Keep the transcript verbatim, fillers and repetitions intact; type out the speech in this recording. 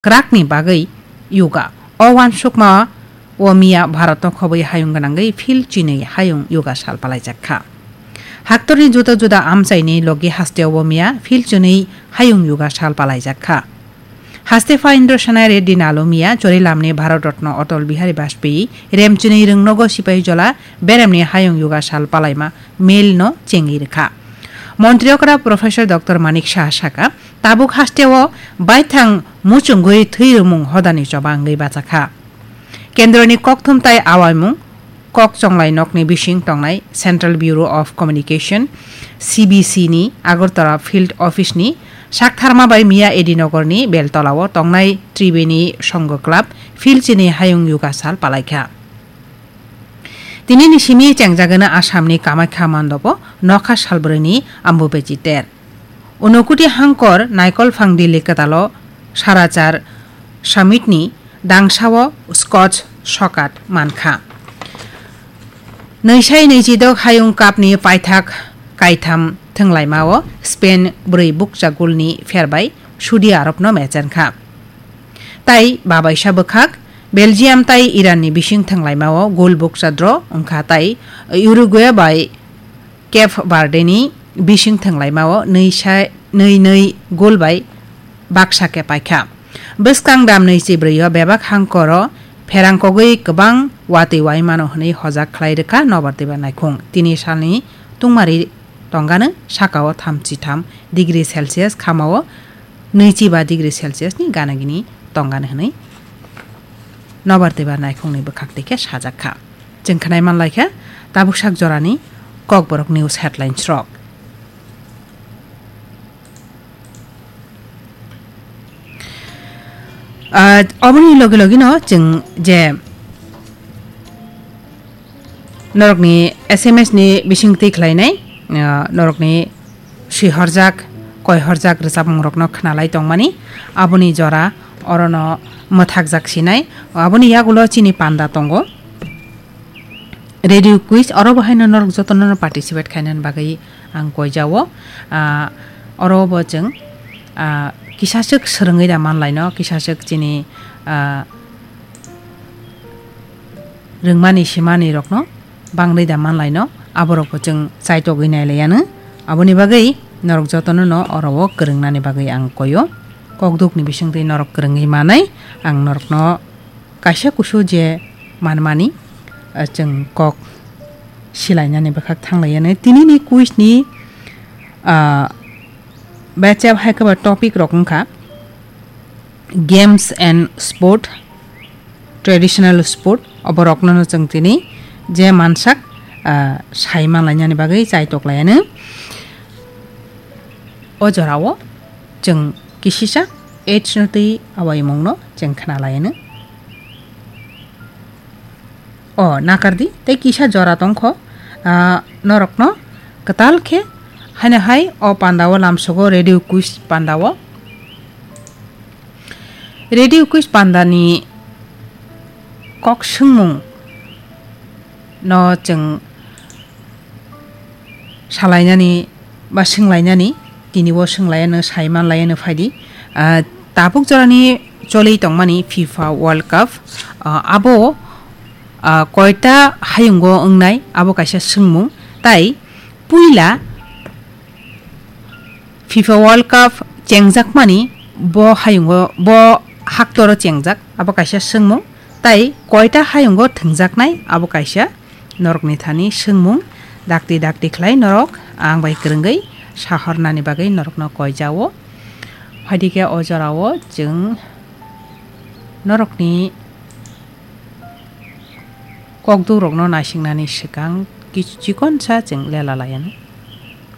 kwrakni bagwi yoga. O uansukma o miya Bharat no khobwi hayung gwnangwi phil chinwi hayung yoga sal palaijak kha. Haktorni juda juda amchaini logi hasteo bo miya phil chinwi hayung yoga sal palaijak kha. Haste pha Indra Sena Reddy Nalo miya Chorilamni Bharat Ratna Atal Bihari Vajpayee remchinwi rwngnogo Sipahijola beremni hayung yoga sal palaima mail no chengwi rwkha. Montri okra Professor Doctor Manik Saha saka, tabuk hasteo baithang muchungwi thwi rwmung hodani choba wngwi bachakha. Kendroni kokthum tai awaimung kok chonglai nokni bising tongnai Central Bureau of Communication, C B C ni Agartala Field Office ni saktharma bai miya Edinogor ni Beltola o tongnai Tribeni Songho Club field chini hayung yoga sal palaikha. Tini ni simi chengjagana Assam ni Kamakhya mandopo nokha salbrwi ni Ambubechi ter. Unokuti hangkor naikol phang Delhi kwtalo Sarachar Summit ni dangsao Scotch sokat mankha. Nwisai nwichidok hayung kapni paithak kaitham thwnglaimao Spain bwrwi bukcha gulni pherbai Saudi Arabno mechenkha. Tai babaisa bwkhak Belgium tai Iranni bising thwnglaimao gul bukcha draw wngkha tai Uruguay bai Cape Verdeni bising thwnglaimao nwi sa-, nwi nwi gol bai baksa khe paikha. Bwskang dam nwi chibrwi o bebak hangkoro pherang kogwi kwbang watwi wai mano hwnwi hojak khlai rwkha Nobar Deba Naikhung. Tini salni tungmari tongano sakao thamchi tham degree Celsius, khamao nwichi ba degree Celsius ni gana gini tongano hwnwi Nobar Deba Naikhungni bwkhak twi khe sajak kha. Chwng khwnai man lai kha tabuk sak jorani Kokborok news headlines rok. Ah, oboni logi logi no chwng je norokni S M S ni bising twi khlainai, ah, norokni swihorjak, koihorjak rwchapmung rokno khwnalai tongmani, aboni jora orono mwthakjak sinai, aboni yagulo chini panda tongo. Radio quiz, oro bo haino norok jotono no participate khainani bagwi ang koijao. Ah, oro bo chwng, ah, kisaswk swrwngwi da manlaino, kisaswk chini, ah, rwngmani simani rokno bangwi da manlaino, aborok bo chwng chaitogwi nailaiano. Aboni bagwi norok jotono no oro o kwrwngnani bagwi ang koio. Kokdukni bisingtwi norok kwrwngwi manai, ang norokno kaisa kusu je manmani, ah, chwng kok silainani bwkhak thanglaiano. Tinini quiz ni, ah, bachab hai khe ba topic rok wngkha games and sport, traditional sport, oborokno no chwng tini je mansak, ah, sai manlainani bagwi chaitok laiano. O jorao chwng kisisa age no twi awaimungno chwng khna laiano. O, nakardi, tei kisa jora tongkho, ah, norokno kwtal khe haino hai o pandao lamsogo radio quiz pandao. Radio quiz pandani kok swngmung no chwng salainani ba swnglainani, tini bo swnglaiyano, sai manlaiyano phaidi. Ah, tabuk jorani choli tongmani FIFA World Cup, ah, abo, ah, koita hayungo wngnai, abo kaisa swngmung. Tai puila FIFA World Cup chengjakmani bo hayungo, bo haktoro chengjak, abo kaisa swngmung. Tai koita hayungo thwngjaknai, abo kaisa norokni thani swngmung. Dakti dakti khlai norok ang bai kwrwngwi sahornani bagwi norokno koijao. Phaidi khe o jorao chwng norokni kokduk rokno naisingnani swkang ki-, chikonsa chwng lela laiano.